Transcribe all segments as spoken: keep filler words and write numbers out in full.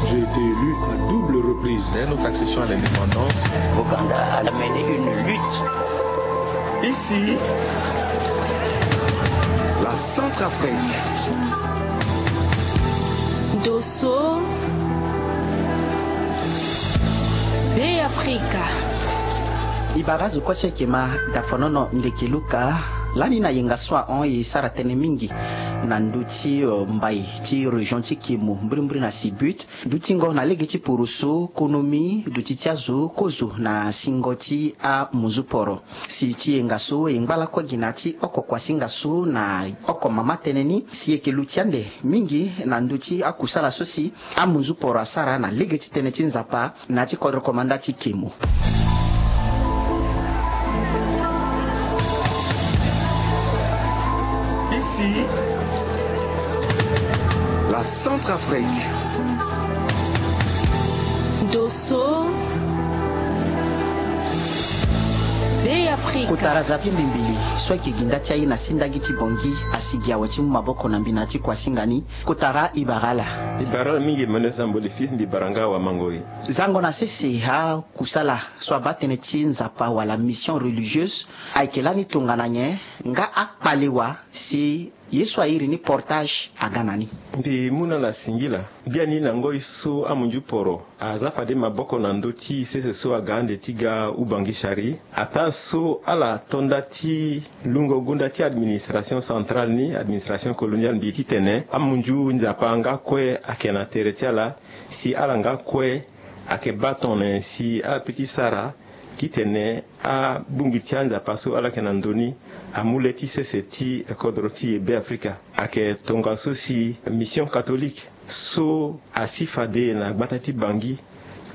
J'ai été élu à double reprise. Dès notre accession à l'indépendance, Ouganda a mené une lutte. Ici, la Centrafrique. Dosso, Be Afrika. I bara azo kue so ayeke ma dafonono ndeke luka lani na yenga so ahon e sara tënë mingi na ndö ti, eh, mbai ti région ti Kemo, mbirimbiri na Sibut. Dutingo na lege ti poroso, konomi, duti ti azo, kozo na singo ti amunzu poro. Si ti yenga so e ngba lakue gi na ya ti oko kuasinga so na oko mama tënë ni, si e yeke luti ande mingi na ndö ti akusala so si amunzu poro asara na lege ti tënë ti Nzapa na ya ti kodro komanda ti Kemo. Ici, la Centrafrique. Dosso, Be Afrika. Kotara Xavier Mbimbili so ayeke gi nda ti aye na sendagi ti Bangui, asigi awe ti mu maboko na mbi na ya ti kuasinga ni. Kotara, i bara ala. I bara ala mingi, Emmanuel Sambo le fils, mbi bara nga awamango e. Zango na sese, akusala so abaa tënë ti Nzapa wala mission religieuse ayeke lani tongana nyen, nga akpale wa si ye so a iri ni portage aga na ni. Mbi mu na ala singila. Biani na ngoi so amunzu poro aza fade maboko na ndö ti sese so aga ande ti ga Ubangui Chari, ataa so ala to nda ti lungo gonda ti administration centrale ni, administration coloniale, mbi titene amunzu Nzapa nga kue ayeke na tere ti ala, si ala nga kue ayeke baa tongana nyen si ala peut ti sara titene abongbi ti anzapa so ala yeke na ndö ni amu le ti sese ti kodro ti e Be Afrika. Ayeke tongaso si mission catholique so asi fade na gbata ti Bangui,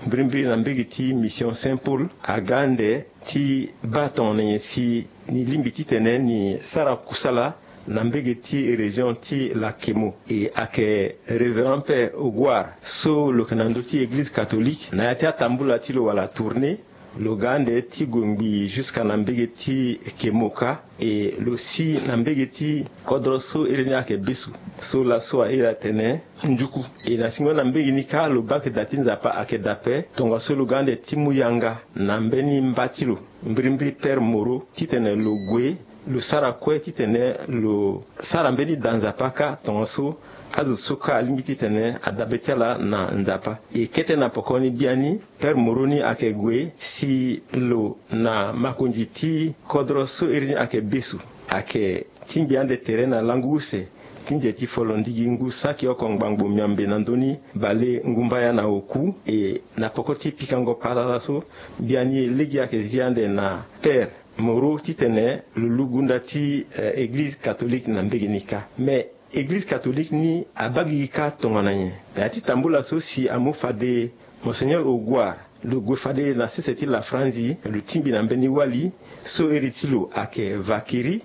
mbirimbiri na mbege ti mission Saint Paul, aga ande ti baa tongana nyen si ni lingbi titene ni sara kusala na mbege ti région ti la Kemo. E ayeke Révérend Père Ogouar so lo yeke na ndö ti Église catholique, na ya ti atambula ti lo wala tournée, lo ga ande ti gue ngbii jusqu'à na mbege ti Kemo kâ. E lo si na mbege ti kodro so iri ni ayeke Besu, so laso a iri atene Njuku. E na singo na mbege ni kâ lo baa ke da ti Nzapa ayeke da ape, tongaso lo ga ande ti mu yanga na mbeni mba ti lo, mbirimbiri Père Moreau, titene lo gue, lo sara kue titene lo sara mbeni da Nzapa kâ, tongaso azo so kâ alingbi titene adabe ti ala na Nzapa. E kete na poko ni biani, Père Moreau ni ayeke gue si lo na makonzi ti kodro so iri ni ayeke Besu ayeke tingbi ande tere na lango use ti nze ti folo ndigi ngu saki oko ngbangbo miambe na ndö ni bale ngumbaya na oku. E na poko ti pikango palala so, biani lege ayeke zi ande na Père Moreau titene lo lu gunda ti, eh, Église catholique na mbege ni kâ. Mais Église catholique ni abaa gigi kâ tongana nyen? Na ya ti tambula so si amu fade Monseigneur Ogouar lo gue fade na sese ti la Franzi, lo tingbi na mbeni wali so iri ti lo ayeke Vakiri,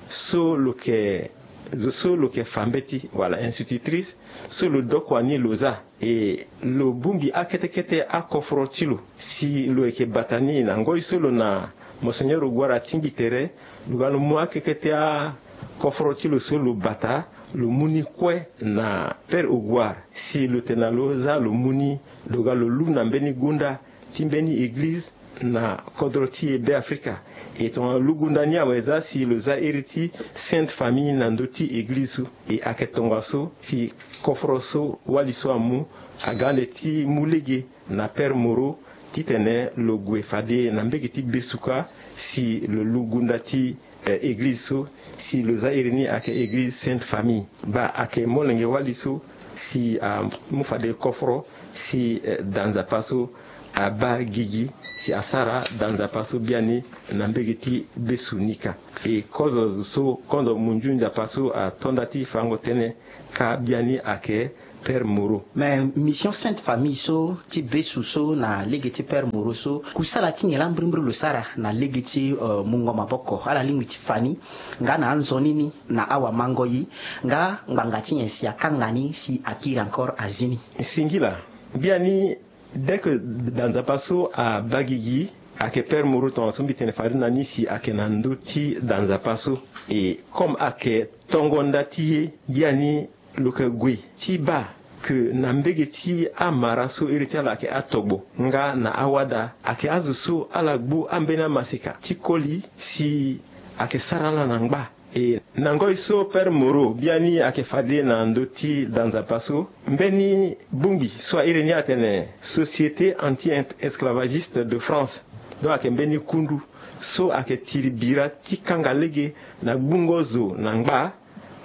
so lo yeke, zo so lo yeke fa mbeti wala institutrice, so lo dokua ni lo za. E lo bongbi akete kete akoforo ti lo si lo yeke bata ni. Na ngoi so lo na Monseigneur Ogouar atingbi tere, lo ga lo mu akete kete akoforo ti lo so lo bata, lo mu ni kue na Père Ogouar. Si lo tene na lo za, lo mu ni, lo ga lo lu na mbeni gunda ti mbeni église na kodro ti e Be Afrika. E tongana lo lu gunda ni awe, za si lo za iri ti Sainte Famille na ndö ti église so. E ayeke tongaso si koforo so wali so amu, aga ande ti mu lege na Père Moreau titene lo gue fade na mbege ti Besu kâ si lo lu gunda ti, eh, église so, si lo za iri ni ayeke église Sainte Famille. Baa ayeke molenge wali so si amu fade koforo si, eh, da Nzapa so abaa gigi si asara da Nzapa so biani na mbege ti Besu ni kâ. E kozo so, kozo munzu Nzapa so ato nda ti fango tënë kâ biani ayeke Père Moreau. Mais mission Sainte Famille so ti Besu so na lege ti Père Moreau so, kusala ti nyen laa mbirimbiri lo sara na lege ti, euh, mungo maboko, ala lingbi ti fa ni, nga na anzoni ni, na awamango ye, nga ngbanga ti nyen si akanga ni si akiri encore azi ni? Singila. Biani, dès que da Nzapa so abaa gigi, ayeke Père Moreau tongaso mbi tene fade na ni si ayeke na ndö ti da Nzapa so. E comme ayeke tongo nda ti ye, biani lo yeke gue ti baa Ke na mbege ti amara so iri ti ala ayeke atogbo nga na awada, ayeke azo so ala gbu ambeni amaseka ti koli si ayeke sara ala na ngba. E na ngoi so Père Moreau biani ayeke fade na ndö ti da nzapa so, mbeni bongbi so airi ni atene Société Anti-Esclavagiste de France, donc ayeke mbeni kundu so ayeke tiri bira ti kanga lege na gbungo zo na ngba,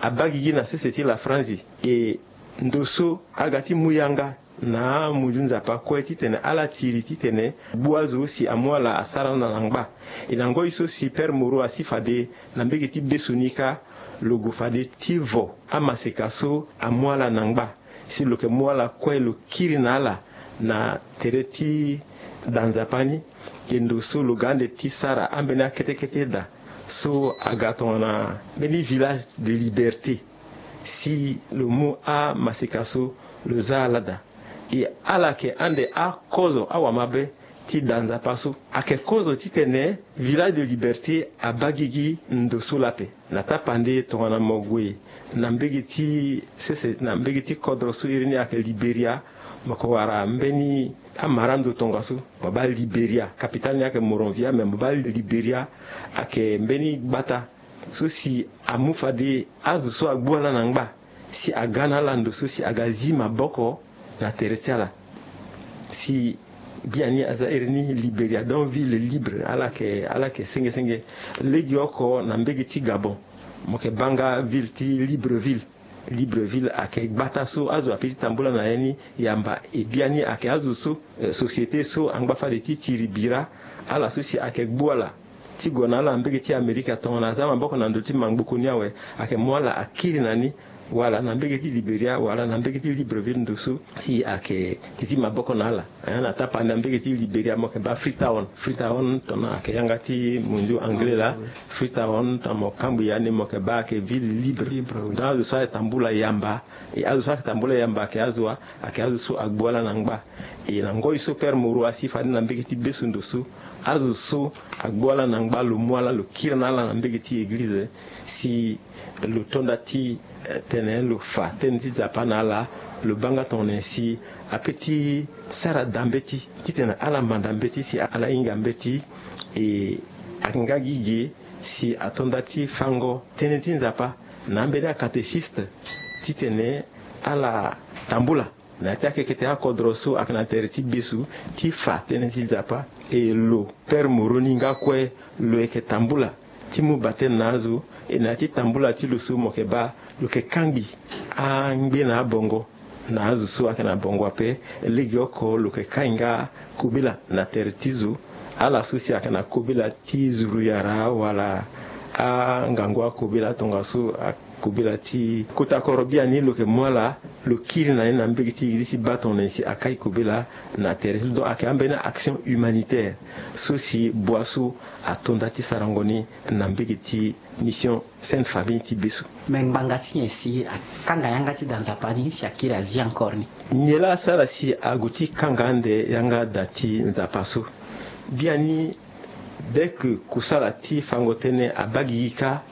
abaa gigi na sese ti lafranzi. E ndo so aga ti mu yanga na amunzu nzapa kue titene ala tiri titene gbu azo si amu ala asara na na ngba. E na ngoi so si Père Moreau asi fade na mbege ti beso ni kâ, lo gue fade ti vo amaseka so amu ala na ngba, si lo yeke mu ala kue lo kiri na ala na tere ti da nzapa ni. E ndo so lo ga ande ti sara ambeni akete kete da so aga tongana mbeni Village de Liberté, si lo mu amaseka so lo za ala daa. E ala yeke ande akozo awamabe ti da nzapa so. Ayeke kozo titene Village de Liberté abaa gigi ndo so laa ape. Na tapande tongana mo gue na mbege ti sese, na mbege ti kodro so iri ni ayeke Liberia, mo yeke wara mbeni amara ndo tongaso, mo baa Liberia, capitale ni ayeke Monrovia, me mo baa Liberia ayeke mbeni gbata so si amu fade azo so agbu ala na ngba si aga na ala ndo so si aga zi maboko na tere ti ala. Si biani aza iri ni Liberia, donc ville libre, ala yeke, ala yeke senge senge. Legeoko na mbege ti Gabon, mo yeke baa nga ville ti Libreville. Libreville ayeke gbata so azo ape ti tambula na ya ni yamba. E biani ayeke azo so, eh, société so angba fade ti tiri bira ala so si ayeke gbu ala ti gue na ala na mbege ti Amerika tongana aza maboko na ndö ti mangboko ni awe, ayeke mu ala akiri na ni, wala na mbege ti Liberia, wala na mbege ti Libreville ndo so si ayeke zi maboko na ala. Eh, na tapande na mbege ti Liberia mo yeke baa Freetown. Freetown tongana ayeke yanga ti munzu anglais laa. Freetown tongana mo kambi ya ni mo yeke baa ayeke ville libre. Libre, oui. Donc azo so ayeke tambula yamba, e azo so ayeke tambula yamba ayeke azo wa, ayeke azo so agbu ala na ngba. E na ngoi so Père Moreau asi fade na mbege ti beso ndo so, azo so agbu ala na ngba lo mu ala lo kiri na ala na mbege ti eglize, si lo to nda ti, eh, tene lo fa tënë ti Nzapa na ala, lo baa nga tongana nyen si apeut ti sara daa mbeti titene ala manda mbeti si ala hinga mbeti. E ayeke nga gi ge si ato nda ti fango tënë ti Nzapa na ambeni acatéchiste titene ala tambula na ya ti akekete akodro so ayeke na tere ti beso ti fa tënë ti Nzapa. E lo Père Moreau ni nga kue lo yeke tambula ti mu batene na azo. E na ya ti tambula ti lo so mo yeke baa lo yeke kangbi angbe na abongo na azo so ayeke na bongo ape. Legeoko lo yeke kai nga kobela na tere ti zo. Ala so si ayeke na kobela ti zuruyara wala angangu akobela tongaso, kobela ti kota koro biani lo yeke mu ala lo kiri na ni na mbege ti eglize ti baa tongana nyen si akai kobela na tere ti lo. Donc ayeke ambeni action humanitaire so si bua so ato nda ti sarango ni na mbege ti mission Sainte Famille ti beso. Me ngbanga ti nyen si akanga yanga ti da Nzapa ni si akiri azi encore ni? Nyen laa asara si ague ti kanga ande yanga da ti Nzapa so? Biani, dès que kusala ti fango tënë abaa gigi kâ,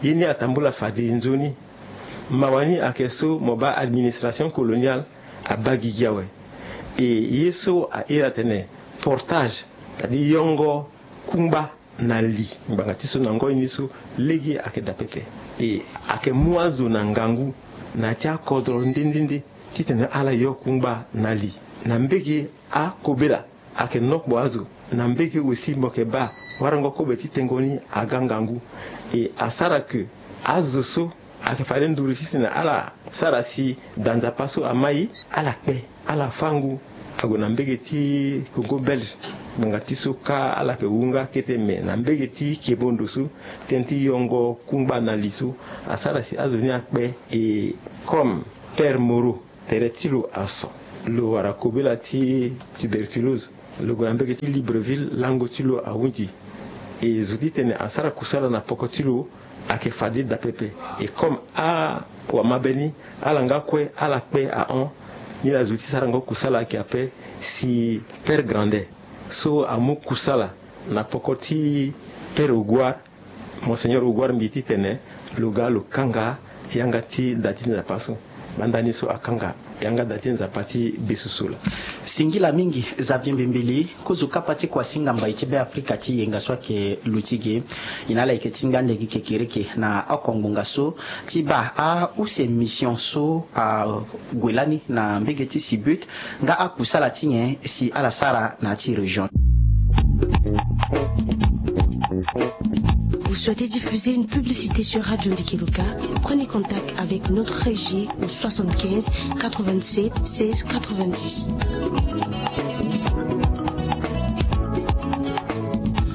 ye ni atambula fade nzoni. Mawa ni ayeke so mo baa administration coloniale abaa gigi awe. E ye so a iri atene portage, c'est-à-dire yongo kungba na li, ngbanga ti so na ngoi ni so lege ayeke daa pepe. E ayeke mu azo na ngangu na ya ti akodro nde nde nde titene ala yo kungba na li. Na mbege akobela ayeke nokpo azo. Na mbege aussi mo yeke baa warango kobe ti tengo ni aga ngangu. E asara ke azo so ayeke fade nduru ti tene ala sara si da Nzapa so amai, ala kpe, ala fâ ngu. Ague na mbege ti Congo Belge, ngbanga ti so kâ ala yeke wu nga kete, me na mbege ti kebo ndo so, tënë ti yongo kungba na li so asara si azo ni akpe. E comme Père Moreau, tere ti lo aso, lo wara kobela ti tuberculose. Lo gue na mbege ti Libreville, lango ti lo ahunzi. E zo titene asara kusala na poko ti lo ayeke fade daa pepe. E comme awamabe ni, ala nga kue ala kpe ahon. Nilaa zo ti sarango kusala ayeke ape, si Père Grandet so amu kusala na poko ti Père Augoire, Monseigneur Augoire Mbi, titene lo ga lo kanga yanga ti da ti Nzapa so. Banda ni so akanga yanga da ti Nzapa ti besusu laa. Singila mingi Xavier Mbembeli, kozo kapa ti kua singa mbai ti Beafrika ti yenga so ayeke luti ge. E na ala yeke tingbi ande gi kekereke na oko ngbonga so ti baa ause mission so ague lani na mbege ti Sibut nga akusala ti nyen si ala sara na ya ti région. Vous souhaitez diffuser une publicité sur Radio Ndikeluka ? Prenez contact avec notre régie au soixante-quinze quatre-vingt-sept seize quatre-vingt-dix.